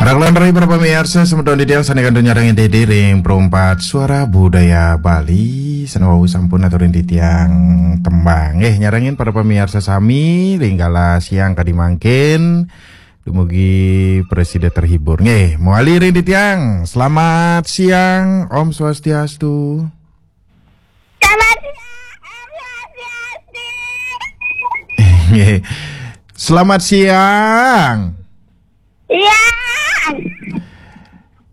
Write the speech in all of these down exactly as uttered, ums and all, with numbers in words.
Raglan rai para pamiarsa, semeton titiang sane kantun nyarengin diri ring Pro empat Suara Budaya Bali, sane wau sampun aturin titiang tembang. Nggih, nyarengin para pamiarsa sami ring galah siang kadi mangkin, dumugi prasida terhibur. Nggih, mawali ring titiang. Selamat siang, Om Swastiastu. Selamat siang, Om Swastiastu. Nggih. Selamat siang. Iya.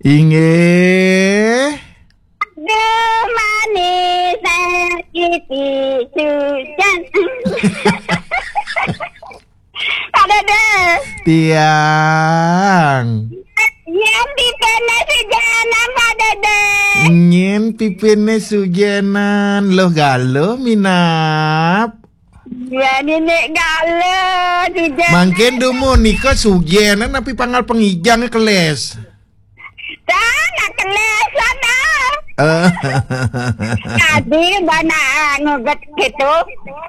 Inggih. Aduh, manis sakiti sujan. Pak Dede. Tiang. Nyén pipine sujanan, Pak Dede. Nyén pipine sujenan. Loh, Galuh minab. Ya, Ninik Galuh, sujenan. Mangkin dumun nika sujenan, napi panggal pangijang keles? Dah, nak keles lah, dah. Eh. Tadi bana ngugut gitu,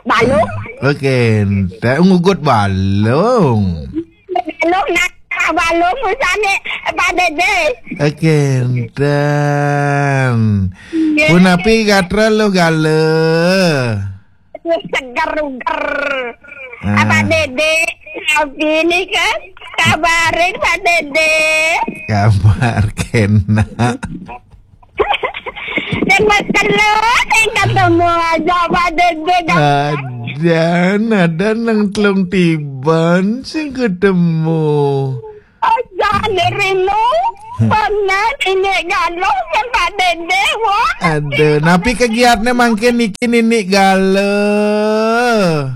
balung. Oke, ente ngugut balung. Balung, nak balung usane, Pak Dede. Oke, enten. Nggih. Punapi gatra Luh Galuh? Aduh, seger uger. Ah. Pak Dede, napi nika? Kabarin, Pak Dede. Kabar kenak. Sing wis telu, sing ketemu aja, Pak Dede, kan? Ada, ada nang telung tiban sing ketemu. Aja nirinu, pernah ini Galuh, kan, Pak Dede, wah. Ada, napi kegiatne mangkin niki, Ninik Galuh?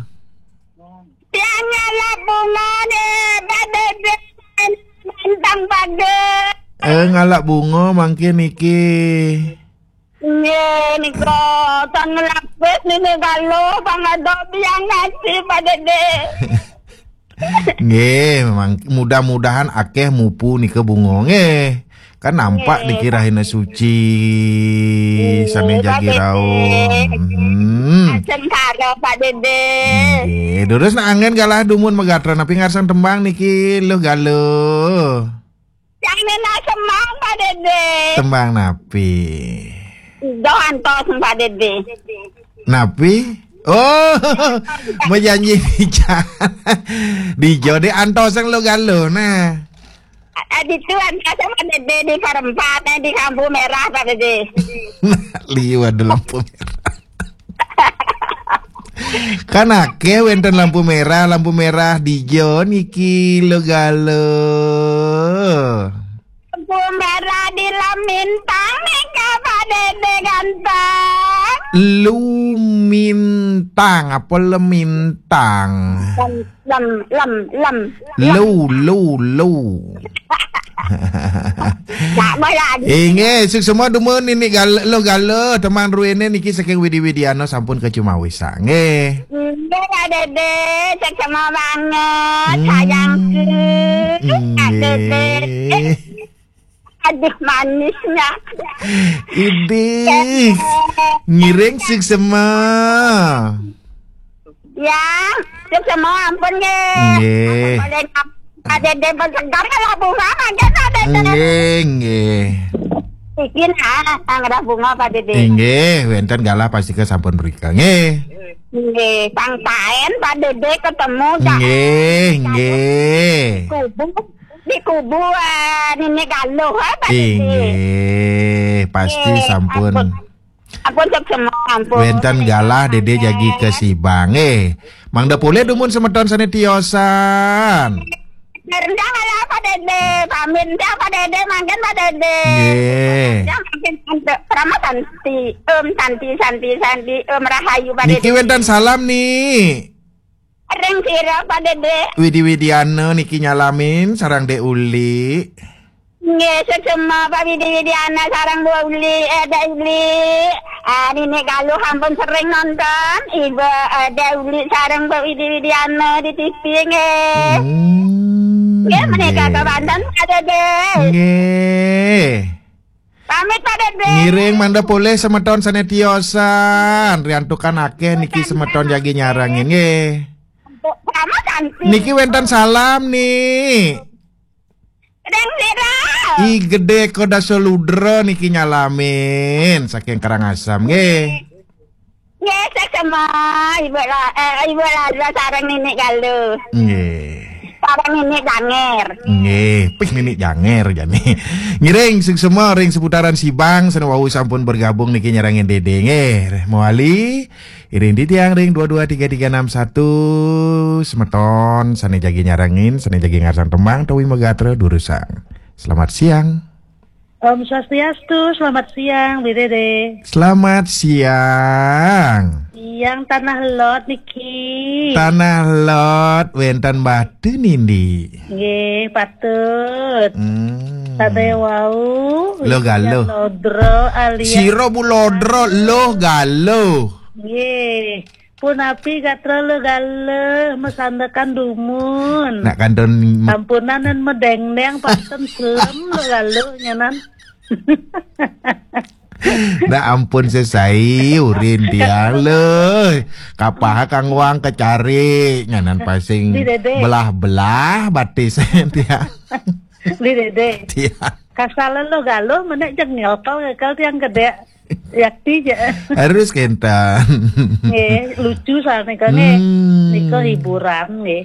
Tiang ngalap bunga deh, Pak Dede. Bentang Pak Dede. Eh, ngalap bunga mangkin niki. Nggih, nika tan ngelapis nini Galuh, pang ada biang ngaji, Pak Dede. Nggih, memang mudah-mudahan akeh mupu nika bunga nggih. Kan nampak nggih, niki rahina suci, nggih, sane jagi Pak Dede. Rauh. Hmm. Ajeng karo, Pak Dede. Nggih, durus nak anggen galah dumun magatra napi ngarsang tembang niki, Luh Galuh? Sane nak semang, Pak Dede. Tembang napi? Doh antos, Pak Dede. Napi? Oh, majanji dijan. Dijo deh antos yang Luh Galuh, nah. Ditu antos sama Dede di Parempat, eh, di Lampu Merah, Pak Dede. Liwat di Lampu Merah. Kan akeh wenten lampu merah, lampu merah dijo niki Luh Galuh. Lampu merah di Lamintang nika, Pak Dede ganteng. Lumintang apa Lemintang? Lem, lem, lem, lem. Lu, lu, lu. Inggih, suksma dumun Ninik Galuh, Luh Galuh, tembang druene niki saking Widi Widiana sampun kacumawisa. Nggih. Nggih, Pak Dede, suksma banget, hmm, sayangku. Pak Dede. Nggih. Aduh, manisnya. Idih. Ngiring suksma. Ya, suksma ampun nggih. Nggih. Ampun, boleh ngap-, Pak Dede bersegar kalau bunga mangke, Pak Dede. Nggih, nggih. Izin, ah, ngerah bunga, Pak Dede. Nggih, wenten galah pastika sampun mrika. Nggih. Nggih, sang taen Pak Dede ketemu, Cak. Nggih, nggih. Kubu, di kubu, eh, Ninik Galuh, eh, Pak Dede. Inggih, pasti. Nggih, sampun. Ampun. Ampun, suksma, ampun. Wenten galah, Dede jagi kasibang. Eh, mangda polih dumun semeton sane tiosan. Rendang ala Pak Dede, pamit dah Pak Dede, mangkin Pak Dede. Nggih. Dah mangkin untuk Rama Santi, Om Santi, Santi, Santi, Om Rahayu, Pak Dede. Niki wenten salam nih. Ring sira, Pak Dede. Widi Widiana niki nyalamin sareng Dek Uli. Nggih, suksma Pak Widi Widiana sareng Bu Uli, eh, Dek Uli. Ah, Ninik Galuh ampun sering nonton. Ibu, eh, Dek Uli sareng Bu Widi Widiana di T V nggih. Hmm, nggih, menika nggih. Kewanten, Pak Dede. Nggih. Pamit, Pak Dede. Ngiring mangda polih semeton sane tiosan. Riantukan akeh niki semeton jagi nyarengin nggih. Sama Santi. Niki wenten salam nih. Ring sira I Gedé Kodaso Ludra niki nyalamin saking Karangasem nggih. Nggih, sesama Ibu La, eh, Ibu Laza sareng Nini Galuh. Nggih. Sareng Nini Janger. Nggih, pih Nini Janger jani. Ngiring suksma ring seputaran Sibang sane wau sampun bergabung niki nyarengin Dede nggih. Mawali iring titiang ring dua dua tiga tiga enam satu, semeton sane jagi nyarengin, sane jagi ngarsang tembang, tawi magatra durusang. Selamat siang. Om Swastiastu, selamat siang, Bi Dede. Selamat siang. Yang Tanah Lot niki. Tanah Lot, wenten Batu Nindi. Nggih, patut. Hmm. Sade wau, Lo Galuh. Lodro alias Sira Bu Lodro, Lo Galuh. Nggih. Punapi gatra Lo Galuh, masandekan dumun. Nak kantun me- Sampunan dan medengdeng, panten selem Lo Galuh nyanan. Nah, ampun sesai urin tiang leuh. Kapah kang wang kecari nyanan pasing Di Dede. Belah-belah batis tiang. Di Dede. Tiang. Kasalen Lo Galuh menek jeng nyokol kekal tiang gede. Yakti ja. Harus kenten. Nggih, lucu soalnya kan nggih. Hmm. Nika hiburan nggih.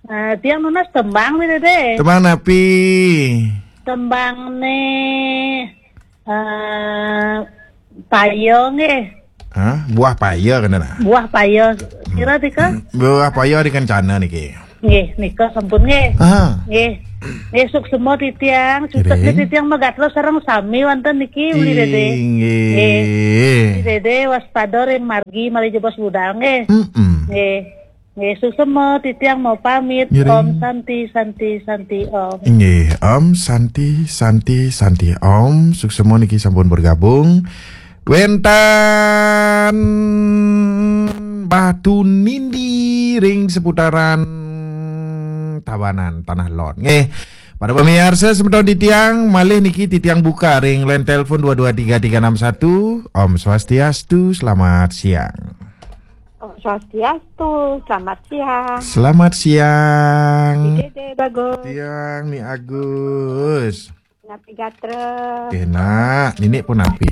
Eh, tiang nunas tembang Bi Dede. Tembang napi? Tembang ne eh paya nggih. Hah? Buah paya kena nak? Buah paya. Kira tika? Buah paya di kencana niki. Nggih, nika sampun nggih. Ah. Nggih. Nggih, suksema titiang, suksma titiang magatra sareng sami wonten niki Bi Dede. Inggih. Nggih. Bi Dede waspada ring margi malih jebos budal nggih. Mm-mm. Nggih. Nggih, suksma titiang mau pamit. Ngiring. Om Santi, Santi, Santi, Om. Nggih, Om Santi, Santi, Santi, Om. Suksma niki sampun bergabung. Wenten Batu Nindi ring seputaran Tabanan, Tanah Lot. Nggih. Para pemirsa, semeton titiang, malih niki titiang buka ring line telepon dua dua tiga tiga enam satu. Om Swastiastu, selamat siang. Om Swastiastu, selamat siang. Selamat siang. Di Dede Bagus. Tiang Ni Agus. Napi gatra? Enak, nini pun napi.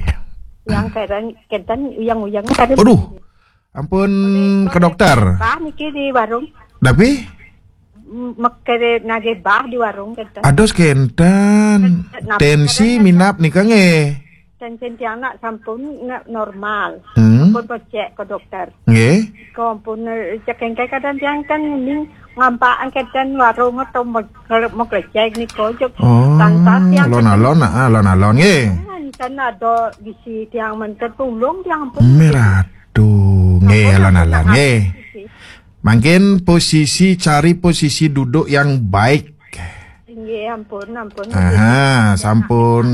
Yang keren, kenten uyang-uyang karen. Aduh, ampun ke dokter. Bah niki di warung. Napi? M- Mekere nagih bah di warung kenten. Ados kenten. Napi tensi keren, minap nika nggih. Tensi tiang nak sampun nak normal. Hmm. Sampun pecek ke dokter. Nggih. Ko ampun, eh, cek engke kadang tiang kan ning ngampak angketan warung atau meg-, meg-, meglecek niko jek. Oh, tangkap tiang alon-alon, ah, alon-alon nggih. Kan ada bisi tiang menten tulung tiang pun. Meratu nggih, alon-alon nggih. Mungkin posisi, cari posisi duduk yang baik. Nggih, ampun, ampun. Aha, sampun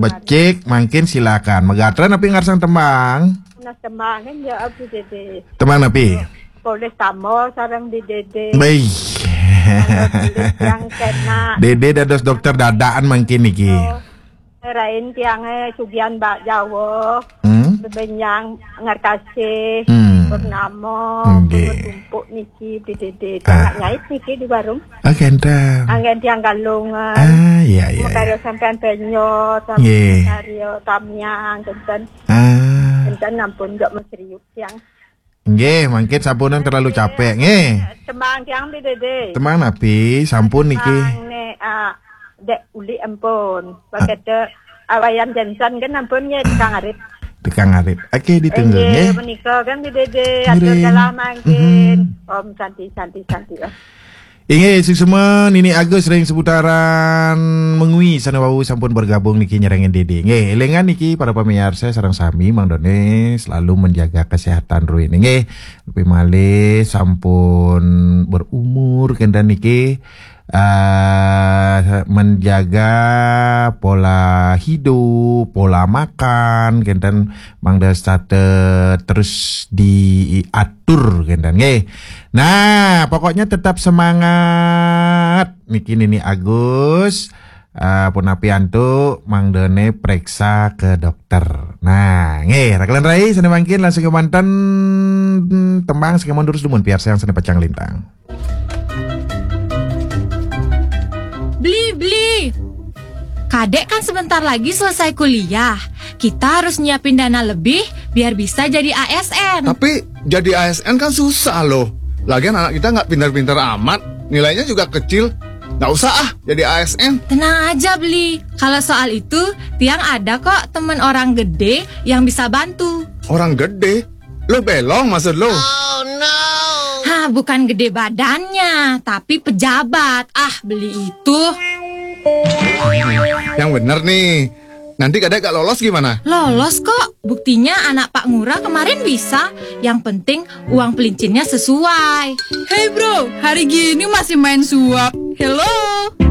becik, mangkin silakan. Megatra napi ngarsang tembang? Nah, tembang kan ya, Abi Dede. Tembang napi? Polih tambah sareng Bi Dede. Baik. Yang kena. Dede dados dokter dadakan mangkin niki. Oh. Rain tiange sugihan bak Jawa. Hmm? Bebenyang ngerkasih. Hmm. Purnama. Nggih. Tumpuk niki Bi Dede. Ah. Tengah nyait niki di warung. Ah, kenten. Anggen tiang galungan. Ah, iya, iya, iya. Makarya sampean penyo, sampean karya tamiang, kenten. Ah. Kenten ampun jok mesriuk tiang. Nggih, mangkin sampunang terlalu capek, nggih. Tembang tiang Bi Dede. Tembang napi? Sampun niki. Tembang ne, ah, Dek Uli ampun. Pakete awayam jansan kan ampun nggih, tukang arit. Tukang arit. Oke, ditunggu, nggih. Nggih, menika kan Bi Dede, atur dalam mangkin. Mm-mm. Om Santi, Santi, Santi, Om. Inggih, suksma Nini Agus ring seputaran Mengwi sane wau sampun bergabung niki nyerengin Dede. Nggih, elingan niki para pamirsa sareng sami mangdane selalu menjaga kesehatan ruin. Nggih, tapi malih sampun berumur kenten niki, eh, menjaga pola hidup, pola makan kenten mangda setata terus diatur kenten nggih. Nah, pokoknya tetap semangat. Niki Nini Agus, eh, punapi antuk mangdane preksa ke dokter. Nah, nggih, rakelan rai sane mangkin langsung kemanten tembang sing ampun durus dumun piarsayang sane pacang lintang. Beli, beli. Kadek kan sebentar lagi selesai kuliah. Kita harus nyiapin dana lebih biar bisa jadi A S N. Tapi jadi A S N kan susah loh. Lagian anak kita nggak pinter-pinter amat. Nilainya juga kecil. Nggak usah ah jadi A S N. Tenang aja, Beli. Kalau soal itu, Tiang ada kok temen orang gede yang bisa bantu. Orang gede? Lo belong maksud lo? Hah, bukan gede badannya, tapi pejabat. Ah, Beli itu. Yang bener nih. Nanti kadek gak lolos gimana? Lolos kok. Buktinya anak Pak Ngurah kemarin bisa. Yang penting uang pelincinnya sesuai. Hey bro, hari gini masih main suap. Hello.